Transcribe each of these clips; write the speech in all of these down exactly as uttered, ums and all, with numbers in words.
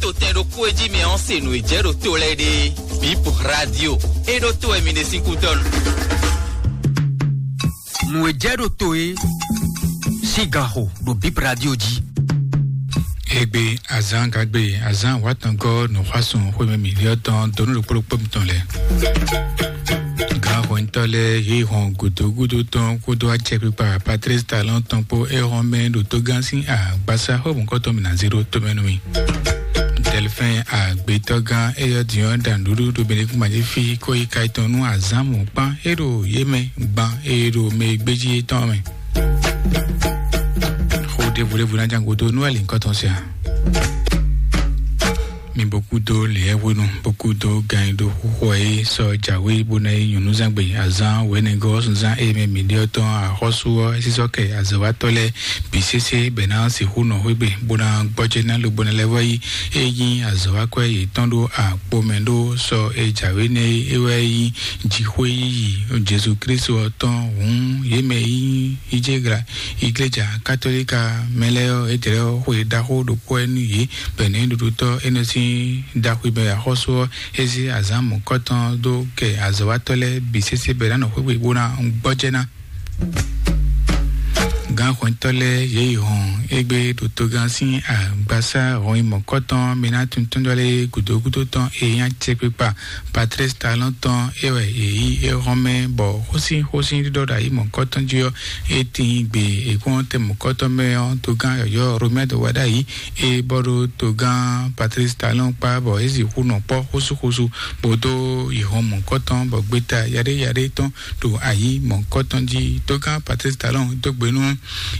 To tɛn ɖokpó e jí mi ɔ́ se nǔ e jɛ ɖo to lɛ́ɛ ɖe. Bip Radio, e ɖo to wɛ mi ɖe sín kútɔ́nu. Nǔ e jɛ ɖo to e sín gan xo ɖo Bip Radio jí. Egbe azán gagbe azán wátɔngɔ́ nǔxwásùn xwémɛ mǐɖyɔ́ tɔn donu ɖokpó ɖokpó mitɔn lɛ. Gǎn hwɛntɔ́ lɛ́ɛ yě hɔn gǔdúgúdú tɔn kúdó acɛkpikpa Patrice Talon tɔn kpó é hɔn mɛ ɖo tógán sín agbasa xó mɔ̌kɔtɔn mǐ ná zé ɖó tomɛ nú mì. Delphine agbetɔ́gán éyɔ́ din ɔ́ ɖa nǔɖuɖu ɖo Benedict Majifi kó yi ka tɔn nú azǎn mɔ̌kpán é ɖo yě mɛ gban é ɖo mɛ e gbéjí étɔn mɛ. Xó ɖěvo ɖěvo ná ján gúdo nú alinkɔtɔn sia. Mi bó kúdó lěɛ́hwenu, bó kúdó gan e ɖo xúxɔ é sɔ́ jǎwe bó ná yi nyɔ̌núzangbe azán wɛ̌nɛgɔ́ zunzán e mɛ mǐ ɖe ɔ́ tɔn axɔ́sú ɔ́ é sísɔ́ kɛ azɔ̌watɔ́ lɛ́ɛ bǐ sésé bɔ è nǎ sixú nɔ xwé gbe bó ná gbɔjɛ́ ná lobo ná lɛ́ vɔ́ yi é nyí azɔ̌wakwɛ́ yětɔn ɖó akpo mɛ ɖó sɔ e jǎwe nɛ́ é wɛ nyí jǐxwé yíyí Jezu Klísu ɔ́ tɔn hǔn yě mɛ e nyí íjégla igleja katolíka mɛ lɛ́ɛ ɔ́, é jlɛ́ ɔ́ xwe ɖaxó ɖokpó wɛ nú yě bɔ nǔɖuɖutɔ́ énɛ́ sín ɖaxwímɛ axɔ́sú ɔ́, é zé azǎn mɔ̌kɔtɔn dó kɛ azɔ̌watɔ́ lɛ́ɛ bǐ sésé bɔ è nǎ nɔ xwé gbe bó ná gbɔjɛ́ ná. Gǎnhwɛntɔ́ lɛ́ɛ yě yi hɔn égbé ɖo togán sín agbasá hɔn yi mɔ̌kɔtɔn mɛ ná tuntun ɖɔ lé gǔdo gúdo tɔn e nyí acɛkpikpa Patrice Talon tɔn é wɛ yě yí é hɔn mɛ bɔ xósín xósín ɖiɖɔ ɖo ayǐ mɔ̌kɔtɔn jí ɔ́, é tín gbe è kpɔ́n tɛ mɔ̌kɔtɔn mɛ ɔ́, togán yɔ̌yɔ́ Romuald Wadagni é bɔ ɖo togán Patrice Talon kpá bɔ é sixú nɔ kpɔ́ xósúxósú bó dó yi hɔn mɔ̌kɔtɔn bɔ gbeta yaɖé yaɖé tɔn ɖo ayǐ mɔ̌kɔtɔn jí. Togán Patrice Talon dó gbe nú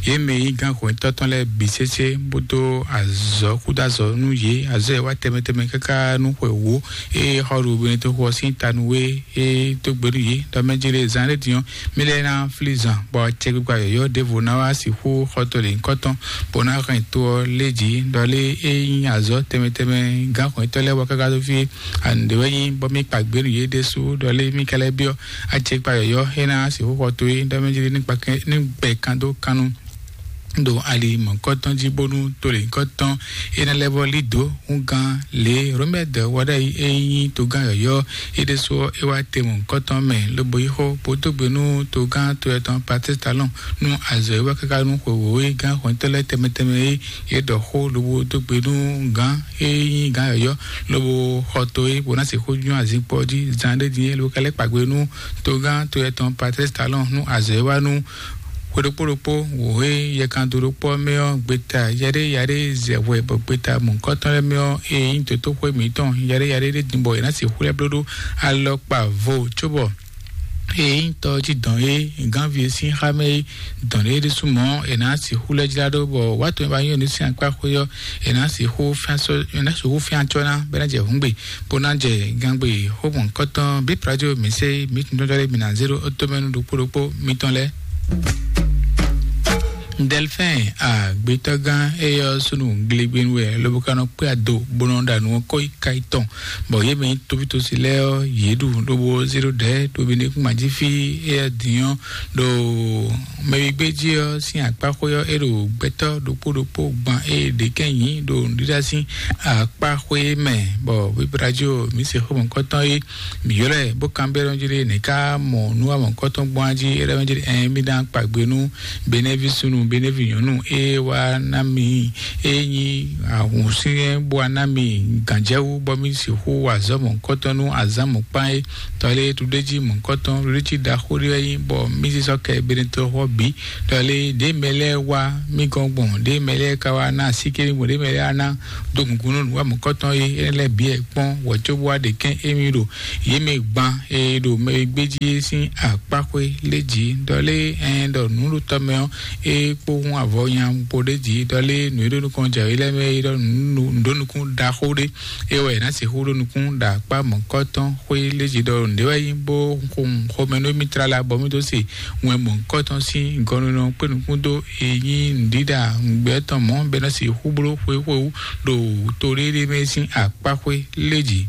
yě mɛ e nyí gǎnhwɛntɔ́ tɔn lɛ́ɛ bǐ sésé bó dó azɔ̌ kúdó azɔ̌ nú yě, azɔ̌ e wá tɛnmɛ tɛnmɛ káká nú xwe wǒ e xɔ ɖo Benetoxo ɔ́ sín ta nú wé e dó gbe nú yě ɖɔ mɛ jlé zán ɖé din ɔ́, mì lɛ́ ná flí zan bɔ acɛkpikpa yɔ̌yɔ́ ɖěvo ná wá sixú xɔ to lěhunkɔtɔn bó ná hɛn to ɔ́ lé jǐ ɖɔ lé é nyí azɔ̌ tɛnmɛ tɛnmɛ gǎnhwɛntɔ́ lɛ́ɛ wá káká dó fí é. Anǔɖé wɛ nyí bɔ mì kpa gbě nú yě ɖésú ɖɔ lé mì ka lɛ́ byɔ́ acɛkpa yɔ̌yɔ́ é ná sixú xɔ to é ɖɔ mɛ jlé ní gbɛ kan dó kan nu ɖo ali mɔ̌kɔtɔn jí bónú to lěhunkɔtɔn é ná lɛ́ vɔ lí dǒ húngán lě Romɛd Wadagni e nyí togán yɔ̌yɔ́ é ɖésú ɔ́, é wá te mɔ̌kɔtɔn mɛ lobo yí xó bó dó gbe nú togán to yɛtɔn Patrice Talon nú azɔ̌ e wá káká nú xwewǒ e gǎn hɔntɔ́ lɛ́ɛ tɛnmɛ tɛnmɛ é yě ɖɔ xó lobo dó gbe nú gǎn e nyí gǎn yɔ̌yɔ́ lobo xɔ to é bó ná sixú nyɔ́ azinkpo ɔ́ jí zan ɖé din é lobo ka lɛ́ kpa gbe nú togán to yɛtɔn Patrice Talon nú azɔ̌ e wá nú xwe ɖokpó ɖokpó wǒ e yɛkan dó ɖokpó ɔ́ mɛ ɔ́, gbeta yaɖé yaɖé zɛ hwɛ bɔ gbeta mɔ̌hunkɔtɔn lɛ́ɛ mɛ ɔ́, e nyí dotóxwé mǐtɔn yaɖé yaɖé ɖé din bɔ è nǎ sixú lɛ́ bló ɖó alɔkpa vo cóbɔ e nyí tɔ jí dɔn é gánvi e sín xá mɛ é dɔn é ɖésú mɔ̌ è nǎ sixú lɛ́ jlá ɖó bɔ wǎ tɔn e ba nyɔ́ nǔ sín akpá xwé ɔ́, è nǎ sixú fíán sɔ́ è nǎ sixú fíán cɔ́ ná bɔ é ná jɛ hǔngbe bó ná jɛ gangbé xó mɔ̌hunkɔtɔn bí radio mǐsɛ́ mǐtundɔ́jɔ́ lɛ́ɛ bǐ ná zé ɖó tomɛnu ɖokpó ɖokpó mitɔn lɛ́ɛ. Delphine agbetɔ́gán éyɔ́ súnnu glegbenu wɛ lobo ka nɔ kpé ado bó nɔ ɖa nǔ ɔ́ kɔ́ yi ka yi tɔn bɔ yě mɛ nyí tóvítósi lɛ́ɛ ɔ́, yě ɖu lobo zé ɖó ɖɛ̌ ɖo Benedict Majifi éyɔ́ din ɔ́ ɖo mɛwigbéjí ɔ́ sín akpáxwé ɔ́ é ɖo gbɛtɔ́ ɖokpó ɖokpó gban é ɖě kɛ́n nyǐ ɖo nǔɖíɖá sín akpáxwé mɛ bɔ wíwlá jí o mǐ se xó mɔ̌kɔtɔn é mǐ ylɔ́ ɛ bó kanbyɔ́ ɖɔ jí lé nɛ̌ ká mɔ nú wa mɔ̌kɔtɔn gbɔn á jí é ɖɔ jí ɛn mí ná kpa gbe nú benɛ́ví súnnu benɛ́ví nyɔ̌nu é wá ná mì é nyí ahǔn syɛ́n bó wá ná mì gǎnjɛwú bɔ mí sixú wa azɔ̌ mɔ̌kɔtɔn nú azǎn mɔ̌kpán é tɔlé ɖuɖéjí mɔ̌kɔtɔn ɖuɖéjí ɖaxó ɖé wɛ nyí bɔ mí zé sɔ́ kɛ benɛtɔ́ xɔ bǐ tɔlé ɖě mɛ lɛ́ɛ wá mí gɔ́n gbɔn ɖě mɛ lɛ́ɛ ka wá ná asíké mí gbɔn ɖě mɛ lɛ́ɛ wá ná dó gǔngún nú nǔ wa mɔ̌kɔtɔn é énɛ́ lɛ́ɛ bǐ wɛ kpɔ́n wɔ cóbó wá ɖe kɛ́n émí ɖo yě mɛ gban e ɖo mɛ e gbé jí é sín akpáxwé lé jǐ ɖɔ lé ɛn ɖɔ nǔɖutɔ́ mɛ ɔ́ é kpó hún avɔ nya kpo ɖé jǐ ɖɔ lé nǔ e ɖo nukɔn jɛ yě lɛ́ɛ mɛ é ɖɔ nǔ ɖó nukún ɖaxó ɖé é wɛ è nǎ sixú ɖó nukún ɖo akpá mɔ̌kɔtɔn xwé lé jǐ ɖɔ nǔɖé wɛ nyí bó xomɛ nú émí tlala bɔ mí dó se wɛn mɔ̌kɔtɔn sín gɔnunɔ kpé nukún dó e nyí nǔɖiɖa nǔgbɛ́ tɔn mɔ̌ bɔ é ná sixú bló xwé xwé wú ɖo toɖéɖé mɛ sín akpáxwé lé jǐ.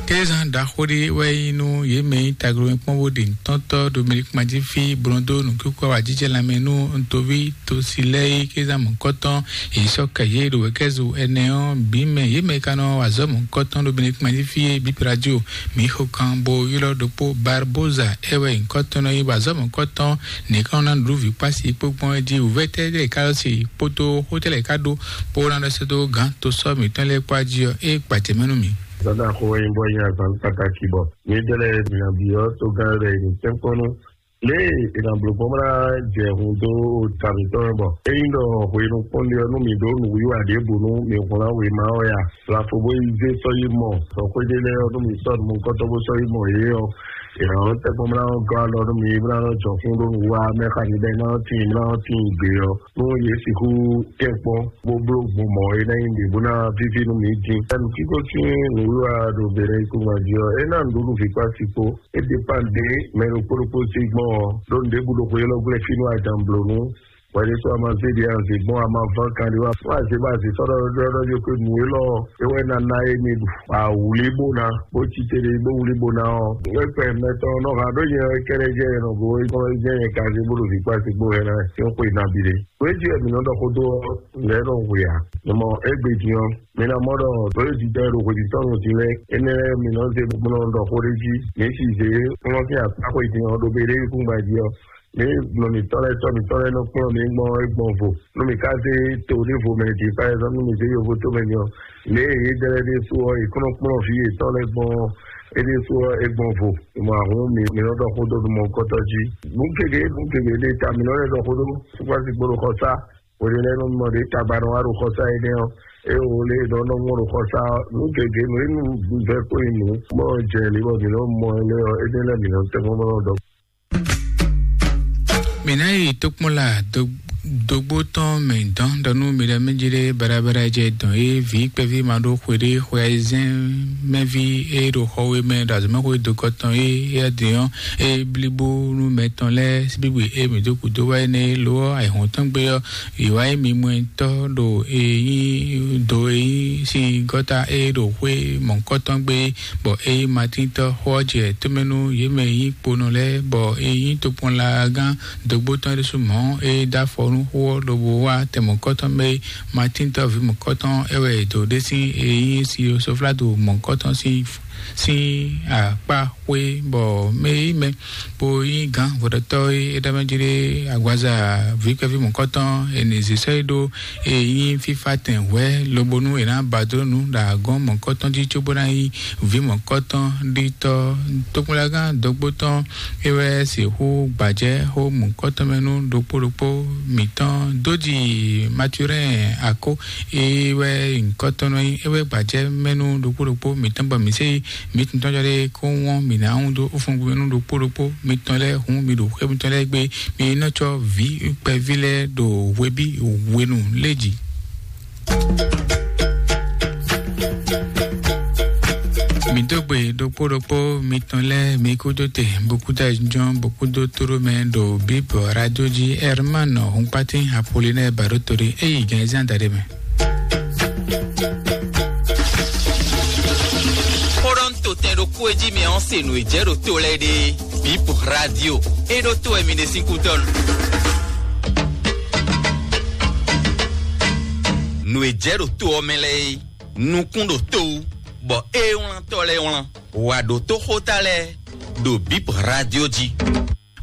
Kézan ɖaxó ɖé wɛ nyí nú yě mɛ nyí taglomɛkpɔ́n bó ɖe nǔtɔ́tɔ́ Dominik Madífi blɔ́ndó nǔkíkú awǎjijɛ lanmɛ nú ntoví tosi lɛ́ɛ é. Kézan mɔ̌kɔtɔn yě sɔ́ kɛ yě ɖo wɛ̌kɛ́zo ɛnɛ ɔ́ bǐ mɛ. Yě mɛ ka nɔ wa azɔ̌ mɔ̌kɔtɔn Dominik Madífi é bǐ radio mǐ xo kan bó ylɔ́ ɖokpó Barboza é wɛ nyǐkɔtɔn nɔ nyí wa azɔ̌ mɔ̌kɔtɔn nǐ ka nɔ ná nǔɖuɖu vǐ kpó asi kpó gbɔn é jí wǔvɛ́ tɛ́ lɛ́ɛ ka ɖo se kpódó xó tɛ́ lɛ́ɛ ka ɖó bó ná ɖɔ sɛ́ dó gǎn tosɔ́ mǐtɔn lɛ́ɛ kpó ají ɔ́ é gbajɛ mɛ nú mǐ. Zɔ́n ɖaxó wɛ nyí bɔ é nyí azǎn kpátákí bɔ mǐdɛɛ lɛ́ɛ mǐ ná byɔ́ togán lɛ́ɛ ɖo tɛ́nkpɔ́n nú lě e è nǎ bló gbɔn bó ná jɛ hun dó ta mǐtɔn mɛ bɔ é nyí ɖɔ hwenu kpɔ́nɖé ɔ́ nú mǐ ɖó nǔwiwa ɖěbǔ nú mǐ hwlán wěma ɔ́ ya. Lafo bó yi zé sɔ́ yi mɔ sɔxwéɖé lɛ́ɛ ɔ́ nú mǐ sɔ́ nǔmɔkɔ́tɔ́ bó sɔ́ yi mɔ yě ɔ́, è nǎ nɔ́ tɛ́ gbɔn bó ná nɔ́ gɔ́ alɔ nú mǐ bó ná nɔ́ jɔ kún ɖó nǔwiwa mɛ xá mǐ ɖɔ é ná nɔ́ tíin bó ná nɔ́ tíin gbě ɔ́. Nú yě sixú tɛ́nkpɔ́n bó bló gbɔn mɔ̌ é ná nyí nǔɖé bó ná víví nú mǐ din. Nǔkíkó sín nǔwiwa ɖo Bɛlɛkúngban jí ɔ́, é ná nǔɖuɖu vǐ kpó asi kpó. É ɖe kpán ɖě mɛ ɖokpó ɖokpó sí gbɔn ɔ́, ɖó nǔɖé bú ɖo xwe élɔ́ glɛ́ fínú adǎn bló nú. Hwɛɖésú a ma zé ɖě anze gbɔn a ma ván kan ɖé wá fún azě bó azě sɔ́ ɖɔ ɖɔ ɖɔ ɖɔ ko nǔ élɔ́ é wɛ ná ná é mi ɖu. Awǔlí bó ná bó cí te ɖé bó wlí bó ná ɔ́, é kpɛ mɛtɔn nɔ ha ɖó nyɛ kɛ́ɖɛ́ jɛ nɔ go é kɔn jɛ nyɛ ka zé bó ɖo vǐ kpá zé gbó hɛn ná é xwe ná bi ɖé. Wéjì wɛ mǐ nɔ ɖɔ xó dó ɔ́, lɛ̌ nɔ hwe ǎ. Mɔ égbé din ɔ́, mi ná mɔ ɖɔ lǒ e jijɛ e ɖo hwějǐtɔ́ nɔ din lɛ́ɛ, énɛ́ lɛ́ɛ mi nɔ zé bó nɔ ɖɔ xó ɖé jí. Mi si zě kplɔ́n sín akpá xwe din ɔ́ ɖo Bɛlɛkúngban jí ɔ́, mi nɔ mǐtɔn lɛ́ɛ sɔ́ mǐtɔn lɛ́ɛ nɔ kplɔ́n mi gbɔn é gbɔn vo. Nú mi ka zé to ɖěvo mɛ din, par exemple, nú mi zé yovo tomɛ din ɔ́, lě e yě dɛ lɛ́ɛ ɖésú ɔ́, yě kɔn nɔ kplɔ́n vǐ yětɔn lɛ́ɛ gbɔn é ɖésú ɔ́, é gbɔn vo. Mɔ ahún mi mi nɔ ɖɔ xó dó nú mɔ̌hunkɔtɔn jí. Nǔ gěgé nǔ gěgé ɖé ta mi nɔ lɛ́ ɖɔ xó dó. Sukpasi gbó ɖo xɔsá. Wele lɛ́ɛ nɔ mɔ ɖě tagba nɔ wá ɖo xɔsá énɛ́ ɔ́, eye wò lě e nɔ nɔ mɔ ɖo xɔsá ɔ́, nǔ gěgé nǔ e nú vɛ kó yi nǔ, bɔ jɛ lě bɔ mǐ nɔ mɔ ɛ lɛ́ɛ ɔ́, énɛ́ lɛ́ɛ mǐ nɔ tɛ́ mɔ bɔ nɔ ɖɔ. Mǐ ná yi tokpɔnla dogbo tɔn mɛ dɔn ɖɔ nú mi ɖɔ mɛ jí ɖé baɖabaɖa jɛ dɔn é vǐ kpɛví ma ɖó xwe ɖé xwe ayizɛ́n mɛví é ɖo xɔwe mɛ ɖo azɔ̌mɛxwe dokɔ tɔn é é din ɔ́ é blibo nú mɛ tɔn lɛ́ɛ síbígbe é mǐ dó kúdó wá énɛ́ é lo ɔ́ ayǐhɔ́n tɔn gbé ɔ́ Ìwà émi mɔ̌tɔn ɖo e nyí do e nyí sín gɔ́ta e ɖo xwé mɔ̌kɔtɔn gbe, bɔ e nyí Matíntɔ́ xó ɔ́ jɛ tómɛ nú yě mɛ e nyí kponɔ lɛ́ɛ, bɔ e nyí tokpɔnlagán dǒgbó tɔn ɖésú mɔ̌ e dó afɔ nú xó ɔ́ lobo wá tɛn mɔ̌kɔtɔn mɛ e Matíntɔ́ ví mɔ̌kɔtɔn é wɛ è dǒ ɖe sín e nyí Siosoflado mɔ̌kɔtɔn sín sín akpá xwé, bɔ mɛ e nyí mɛ bó nyí gǎn vodɔtɔ́ e é ɖɔ mɛ jí ɖe agbaza vǐ kpɛví mɔ̌kɔtɔn e nǐ zě sɔ́ yi ɖó e nyí fífá tɛn hwɛ̌, lobo nú è nǎ ba dó nǔ ɖo agɔ́n mɔ̌kɔtɔn jí cóbó ná nyí vǐ mɔ̌kɔtɔn ɖitɔ́. Tokpɔnlagán dɔgbó tɔn é wɛ sixú gbajɛ xó mɔ̌kɔtɔn mɛ nú ɖokpó ɖokpó mǐtɔn dó ji Maturɛ́n Akó é wɛ nyǐkɔtɔn nɔ nyí é wɛ gbajɛ mɛ nú ɖokpó ɖokpó mǐtɔn bɔ mǐ se mǐ tɔn tɔn ɖé kó wɔn mǐ ná ŋu dó fúngbí nú ɖokpó ɖokpó mitɔn lɛ́ɛ hun mi ɖo xwé mitɔn lɛ́ɛ gbé mi nɔ tsɔ vǐ kpɛví lɛ́ɛ ɖo hweví hwenu lé jí. Mi dó gbe ɖokpó ɖokpó mitɔn lɛ́ɛ mi kúdó te bokúdó ayǐjínjɔ́n bokúdó tóɖó mɛ ɖo bíbɔ radio jí Herman Hunkpatin Apollinaire Baɖótoɖé é yi gǎn zán daɖé mɛ. Xóɖɔ́ntotɛn ɖokpó e jí mi ɔ́ se nǔ e jɛ ɖo to lɛ́ɛ ɖe. Bip radio. É ɖó to wɛ mi ɖe sín kútɔ́ nu. Nǔ e jɛ ɖo to ɔ́ mɛ lɛ́ɛ é, nukún ɖo to wú, bɔ é wlán tɔ́ lɛ́ɛ wlán. Wǎ ɖótó xóta lɛ́ɛ ɖo Bip radio jí.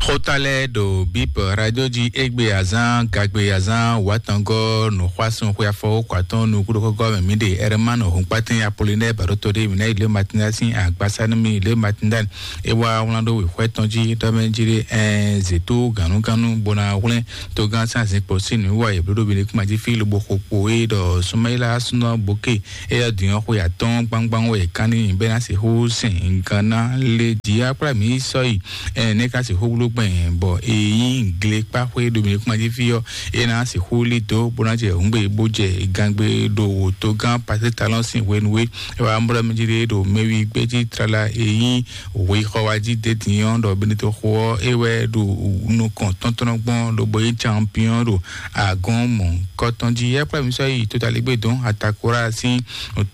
Xóta lɛ́ɛ ɖo Bip radio jí égbé azán gagbe azán wǎtɔngɔ́ nǔxwásún xwe afɔwókɔ atɔn nukúɖokɔ́gɔ́ mɛ mǐ ɖe Ɛrɛmánu Hunkpatɛn Apolinɛ́ɛ Baɖóto ɖé mǐ ná yi lě Matinda sín agbasá nú mì lě Matinda. É wá wlán ɖó wěxwɛ́ tɔn jí ɖɔ mɛ jí ɖé ɛɛ zětó gǎnúgánú bó ná hwlɛ́n togán sín azǐnkpo sín nǔwiwa e bló ɖo Benekuma jí fí lobo xo kpo é ɖɔ Sumayila súnɔ Bóke é ɖɔ dǐn ɔ́ xwe atɔ́ɔ́n gbangban wɛ è kán n'i bɔ é ná sixú sɛn gan ná lé jǐ akplá mǐ sɔ́ yi. Ɛɛ nɛ́ ká sixú bló kpɛn bɔ e nyí glekpáxwé Dominikuma jí fí ɔ́, é ná sixú lí dó bó ná jɛ hǔngbe bó jɛ gangbe ɖo wòtó gán Patrick Talon sín hwenu é. É wá mlɔ́ mɛ jí ɖe ɖo mɛwi gbɛ́jí tlala e nyí hwexɔ wá jí dé din ɔ́, ɖɔ Benito xo ɔ́, é wɛ ɖo nukɔn tɔntɔn gbɔn lobo nyí champion ɖo agɔn mɔ̌hunkɔtɔn jí. É kplá mi sɔ́ yi Totaligbe dɔn Atakora sín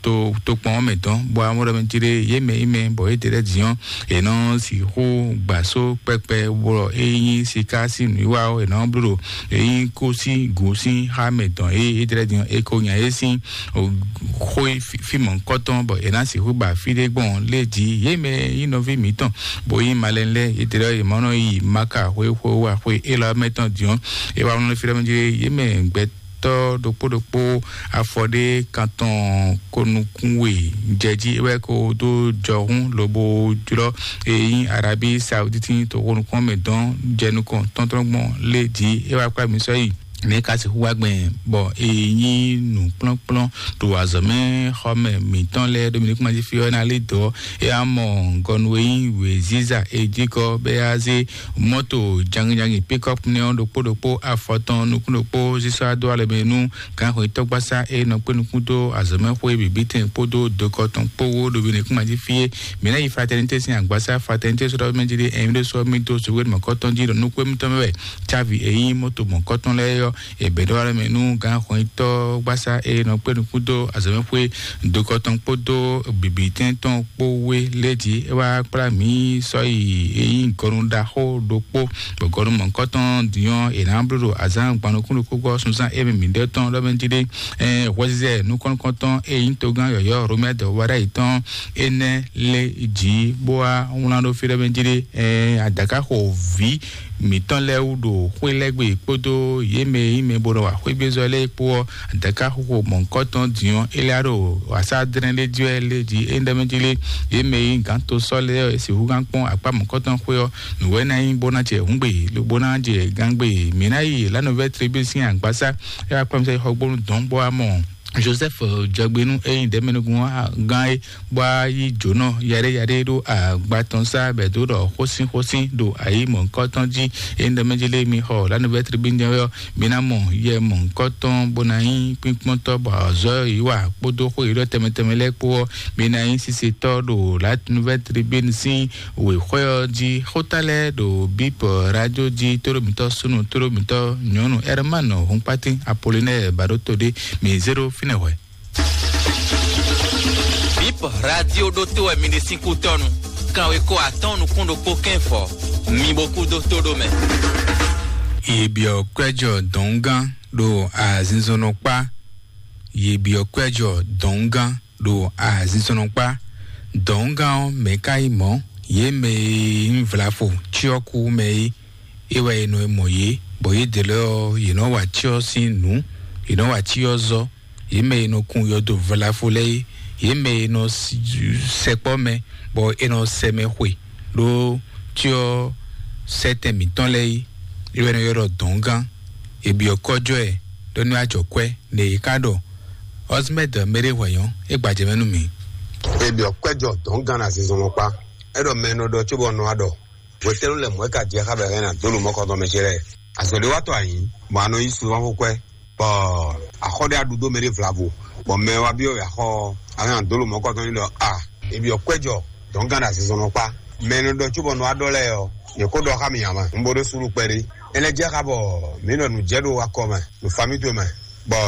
to tokpɔn ɔ́ mɛ dɔn, bɔ amɔ́ ɖɔ mɛ jí ɖe yě mɛ yi mɛ bɔ yě ɖe lɛ́ɛ din ɔ́, è nɔ sixú gbà só kpɛkpɛ bɔ é nyí siká sín nǔwiwa ɔ́, è nɔ bló ɖo é nyí kó sín gǔ sín xá mɛ dɔn é é ɖe lɛ́ɛ din ɔ́, é ko nya é sín xó fí mɔ̌hunkɔtɔn bɔ è nǎ sixú ba fí ɖé gbɔn lé jí. Yě mɛ nyí nɔví mǐtɔn bó nyí malɛn lɛ́ɛ, yě ɖe lɛ́ɛ yě mɔ nɔ yi Maka xwé xwé wá xwé élɔ́ mɛ tɔn din ɔ́, é wá nɔ fí ɖɔ mɛ jí yě mɛ gbɛ tɔ́ ɖokpó ɖokpó afɔ ɖé kan tɔn ko nukún we jɛ jí, é wɛ ko dó jɔhún lobo jlɔ́ e nyí Arabi Sauditi to ko nukún mɛ dɔn jɛ nukɔn tɔntɔn gbɔn lé jí, é wá kpá mi sɔ́ yi. Nɛ̌ ka sixú wá gbɛn bɔ e nyí nǔkplɔ́nkplɔ́n ɖo azɔ̌mɛ xɔmɛ mǐtɔn lɛ́ɛ ɖo mi ní kún ma jí fí ɔ́ ná lí dɔ̌? É wá mɔ gɔnu e nyí wěziza e jí kɔ bɛ́ yá zé mɔ́to jangijangi pikɔ́p nɛ́ ɔ́ ɖokpó ɖokpó afɔtɔn nukún ɖokpó sísɔ́ dó alɔ mɛ nú gǎnxwetɔ́gbasá e nɔ kpé nukún dó azɔ̌mɛxwé bǐbítɛn kpódó dokɔ tɔn kpó wó ɖo Benɛkúmají fí é. Mǐ ná yi fraternité sín agbasá fraternité sɔ́ ɖɔ mɛ jí ɖe ɛmí ɖé sɔ́ mì dó sowéɖ mɔ̌kɔtɔn jí ɖɔ nukún émítɔn mɛ wɛ cávi e nyí mɔ́to mɔ̌kɔtɔn lɛ́ɛ ɔ́, è bɛ̌ ɖɔ alɔ mɛ nú gǎnxwetɔ́gbasá e nɔ kpé nukún dó azɔ̌mɛxwé dokɔ tɔn kpódó bǐbítɛn tɔn kpó wé lé jí é wá kplá mǐ sɔ́ yi é nyí gɔnu ɖaxó ɖokpó, bɔ gɔnu mɔ̌hunkɔtɔn din ɔ́, è nǎ bló ɖo azǎn gban nukún ɖokpó gbɔ sunzán émí mǐɖée tɔn ɖɔ mɛ jí ɖé. Hwɛzizɛ nukɔn nukɔntɔn e nyí togán yɔ̌yɔ́ Romɛ́ dɔ̌wúwa ɖ'ayǐ tɔn énɛ́ lé jí bó wá wlán ɖó fí ɖɔ mɛ jí ɖé. Adǎkáxo vǐ mǐtɔn lɛ́ɛ wú ɖo xwé lɛ́ɛ gbe kpódó yě mɛ e nyí mɛ bo nɔ wa xwégbézɔ́ lɛ́ɛ kpó ɔ́, adǎkáxoxo mɔ̌hunkɔtɔn din ɔ́, é lɛ́ ɖo wǎsá dlɛ́n ɖé jí wɛ lé jí é ɖɔ mɛ jí lé. Yě mɛ e nyí gǎn to sɔ́ lɛ́ɛ ɔ́, è sixú gán kpɔ́n akpá mɔ̌hunkɔtɔn xwé ɔ́, nǔ wɛ ná nyí bó ná jɛ hǔngbe, lobo ná jɛ gángbe. Mǐ ná yi La Nouvelle Tribune sín agbásá, é wá kpɔ́n mi sɔ́ yi xɔgbónu dɔ̌n bó wá mɔ Joseph Jɔgbénu e nyí ɖɛ̌mɛnúgún gán é, bó wá yí jǒnɔ yaɖéyaɖé ɖó agba tɔn sá bɛ̌ dó ɖɔ xósínxósín ɖo ayǐ mɔ̌hunkɔtɔn jí. É nyí ɖɔ mɛ jí lé mi xɔ La Nouvelle Tribune jɛ́n wɛ ɔ́, mi ná mɔ yɛ mɔ̌hunkɔtɔn bó ná nyí kpínkpɔ́ntɔ́ bɔ azɔ̌ yí wa kpódó xó yǐɖɔ tɛnmɛ tɛnmɛ lɛ́ɛ kpó ɔ́, mi ná nyí sisetɔ́ ɖo La Nouvelle Tribune sín wěxwɛ́ ɔ́ jí. Xóta lɛ́ɛ ɖo Bip Radio jí, tóɖó mǐtɔn súnnu, tóɖó mǐtɔn nyɔ̌nu Herman Hunkpatín Apollinaire Baɖótodé, mi zé ɖó fínɛ́ hwɛ̌. Bip Radio ɖótó wɛ mi ɖe sín kútɔ́nu. Kanwekó atɔ́ɔ́n nukún ɖokpó kɛ́nfɔ. Mi bo kú dó tó ɖó mɛ. Yě byɔ́ kwɛ́jɔ dɔ̌ngán ɖo azinzɔnnɔkpá. Yě byɔ́ kwɛ́jɔ dɔ̌ngán ɖo azinzɔnnɔkpá. Dɔ̌ngán ɔ́, mɛ̌ ka nyí mɔ̌? Yě mɛ e nyí vlafo cyɔ́ kú mɛ é, é wɛ è nɔ mɔ yě, bɔ yědɛɛ lɛ́ɛ ɔ́, yě nɔ wa cyɔ sín nǔ, yě nɔ wa cyɔ zɔ, yě mɛ e nɔ kun yɔdo vlafo lɛ́ɛ é, yě mɛ e nɔ sɛkpɔ́ mɛ, bɔ è nɔ sɛ mɛ xwe ɖó cyɔ sɛtɛn mǐtɔn lɛ́ɛ é, é wɛ è nɔ ylɔ́ ɖɔ dɔ̌ngán. È byɔ́ kɔ́jɔ ɛ ɖɔ nú ajɔ kwɛ́, nɛ yě ká ɖɔ Ɔzimɛdɔ mɛɖé hwɛ̌nyɔ́, é gbajɛ mɛ nú mǐ. È byɔ́ kɔ́jɔ dɔ̌ngán azinzɔnnɔkpá, é ɖɔ mɛ e nɔ ɖɔ cóbɔ nɔ wá ɖɔ. Hwetɛ́nu lɛ́ɛ mɔ̌ é ka jɛ xá bɔ è hɛn nǎ dó lǒ mɔkɔtɔn mɛ ce lɛ́ɛ? Azɔ̌ ɖé wá tɔ ayǐ, bɔ a nɔ yí sunzán xó kwɛ́, bɔ axɔ́ ɖé aɖu dó mɛ ɖé vlavo, bɔ mɛ wá byɔ́ wɛ axɔ́ ɔ́, a hɛn nǎ dó lǒ mɔkɔtɔn ní ɖɔ a, è byɔ́ kwɛ́ jɔ dɔ̌ngán ɖo azinzɔnnɔ kpá. Mɛ e nɔ ɖɔ cóbɔ nɔ wá ɖɔ lɛ́ɛ ɔ́, yě ko ɖɔ xá mì ǎ mɛ. Un bo ɖó súnnu kpɛɖé. É lɛ́ jɛ xá bɔ mǐ nɔ nǔ jɛ ɖo akɔ mɛ, ɖo famí towe mɛ, bɔ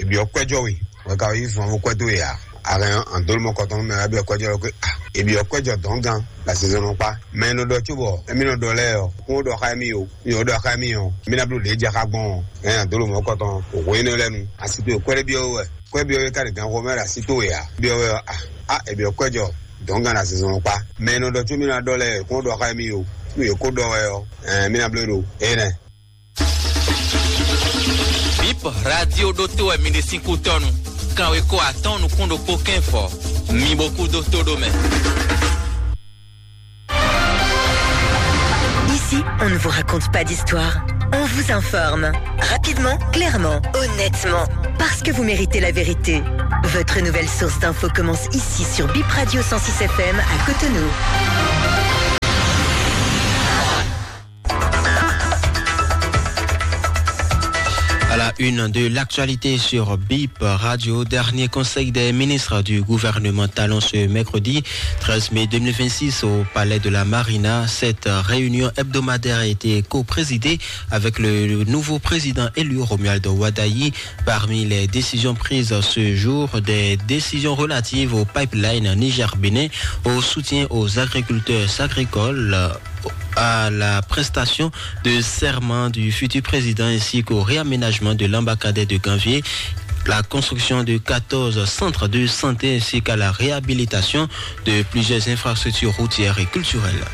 è byɔ́ kwɛ́ jɔ we, wɛ ka yí zɔn kwɛ́ dó we ǎ. A hɛn an dó ló mɔ kɔtɔn mɛ, a byɔ́ kwɛ́ jɔ lɔ kwé a, è byɔ́ kwɛ́ jɔ dɔ̌n gán la sezɔn nɔ kpá. Mɛ e nɔ ɖɔ cóbɔ émí nɔ ɖɔ lɛ́ɛ ɔ́, kún ó ɖɔ xá émí o, mí ò ɖɔ xá émí ɔ́, mí ná bló lě jɛ xá gbɔn ɔ́. Hɛn an dó ló mɔ kɔtɔn, òhwe énɛ́ lɛ́ɛ nu, asi towe kwɛ́ ɖé byɔ́ we wɛ, kwɛ́ byɔ́ we ka ɖe gan xomɛ ɖo asi towe ǎ. Byɔ́ we ɔ́, a, a è byɔ́ kwɛ́ jɔ dɔ̌n gán la sezɔn nɔ kpá. Mɛ e nɔ ɖɔ có mí ná ɖɔ lɛ́ɛ, kún ó ɖɔ xá émí o, nú yě kó ɖɔ wɛ ɔ́, ɛɛ mí ná bló ɖo énɛ́. Bip Radio ɖótó wɛ mi ɖe sín kútɔ́nu. Kanwekó atɔ́ɔ́n nukún ɖokpó kɛ́nfɔ. Mi bo kú dó tó ɖó mɛ. Ici, on ne vous raconte pas d'histoire. On vous informe. Rapidement, clairement, honnêtement. Parce que vous méritez la vérité. Votre nouvelle source d'infos commence ici sur Bip Radio cent six F M à Cotonou. À la une de l'actualité sur Bip Radio, dernier conseil des ministres du gouvernement Talon ce mercredi treize mai deux mille vingt-six au palais de la Marina. Cette réunion hebdomadaire a été co-présidée avec le nouveau président élu Romuald Wadagni. Parmi les décisions prises ce jour, des décisions relatives au pipeline Niger-Bénin, au soutien aux agriculteurs agricoles, à la prestation de serment du futur président ainsi qu'au réaménagement de l'embarcadère de Ganvié, la construction de quatorze centres de santé ainsi qu'à la réhabilitation de plusieurs infrastructures routières et culturelles.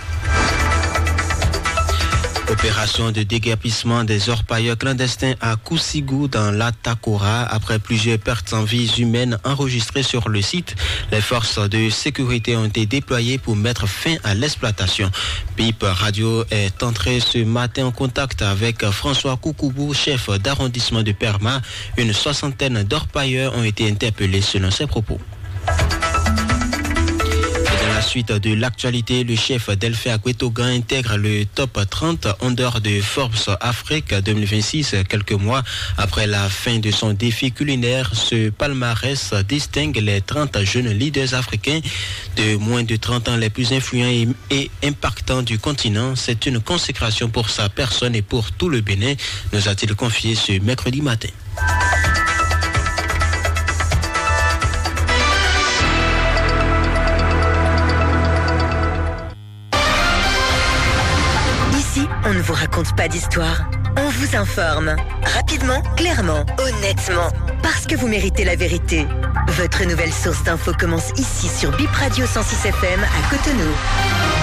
Opération de déguerpissement des orpailleurs clandestins à Kousigou dans l'Atakora. Après plusieurs pertes en vies humaines enregistrées sur le site, les forces de sécurité ont été déployées pour mettre fin à l'exploitation. Bip Radio est entré ce matin en contact avec François Koukoubou, chef d'arrondissement de Perma. Une soixantaine d'orpailleurs ont été interpellés selon ses propos. Et dans la suite de l'actualité, le chef Delphin Akwetogan intègre le top trente en dehors de Forbes Afrique deux mille vingt-six, quelques mois après la fin de son défi culinaire. Ce palmarès distingue les trente jeunes leaders africains de moins de trente ans les plus influents et, et impactants du continent. C'est une consécration pour sa personne et pour tout le Bénin, nous a-t-il confié ce mercredi matin. Ici, on ne vous raconte pas d'histoire. On vous informe. Rapidement, clairement, honnêtement. Parce que vous méritez la vérité. Votre nouvelle source d'infos commence ici sur Bip Radio cent six F M à Cotonou.